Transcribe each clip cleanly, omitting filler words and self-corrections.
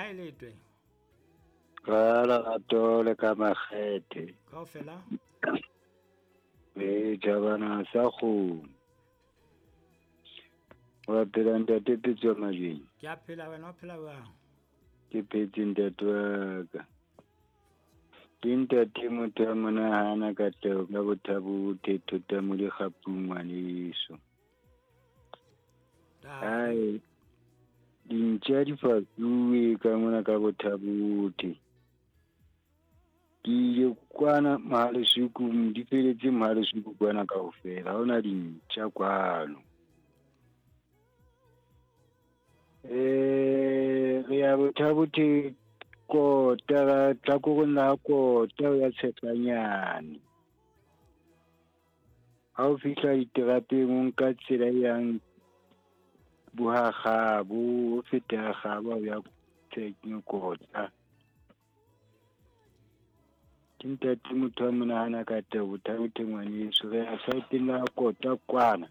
Kae letwe? Ka lerato le ka makgethe. Kaofela? Ee, tjhabana sa kgomo. Wa phela ntate Pitso Majweng? Ke a phela, wena o phela jwang? Ke phetse ntate wa ka. Ke ntate motho a monahana katleho ka bothabo bo thota mo dikgapung ngwaneso. Ai, dintja di fasuwe ka mona ka bothabothe. Ke ile kwana Mohalesuku, di feletse Mohalesuku kwana kaofela. Ha hona dintja kwano. Re ya Bothabothe kota, tlhakoreng la kota ya Tshetlanyane. Ha o fihla diterapeng o nka tsela e yang Bohakgabo, o feta Kgabo ha o ya kota. Ke ntate motho a monahana ka tebo Bothabothe ngwaneso. Re ya saeteng la kota kwana.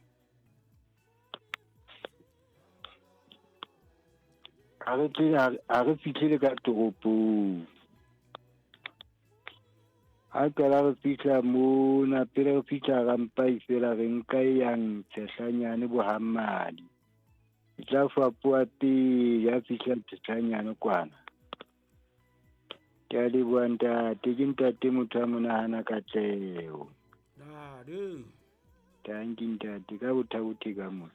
Ha re tle, ha re fihlile ka toropong. Ha qala re fihla mona, pele re fihla Rampai fela re nka e yang Tshehlanyane Bohammadi. E tla fapoha pele ha fihla Tshehlanyane kwana. Ke a leboha ntate, ke ntate motho a monahana katleho. Ntate. Tanki ntate, ka bothabothe ka mona.